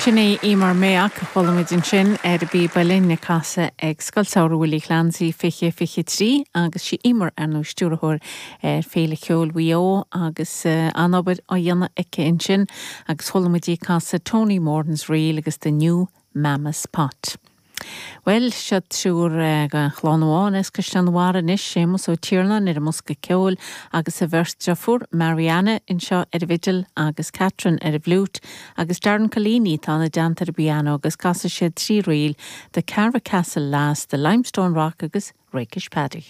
Sin í Eimear Mayock a chuala muid ansin ar an bpíob uilleann ag casadh ag Scoil Samhraidh Willie Clancy 2023 agus sí Eimear ar ndóigh stiúrthóir ar Féile Cheoil Mhaigh Eo agus an-obair á dhéanamh aici ansin agus chuala muid í ag casadh Tony Moran's Reel agus The New Mamma's Pot. Bhuel, seo triúr de chlann amháin as Caisleán an Bharraigh anois, Séamus Ó Tiarnáin ar an mbosca ceoil agus a bheirt deirfiúr, Marianna anseo ar an bhfidil agus Catherine ar an bhfliúit agus Darren Collini atá ina dteannta ar an bpianó agus casfaidh siad trí ríl, The Carra Castle Lass, The Limestone Rock agus Rakish Paddy.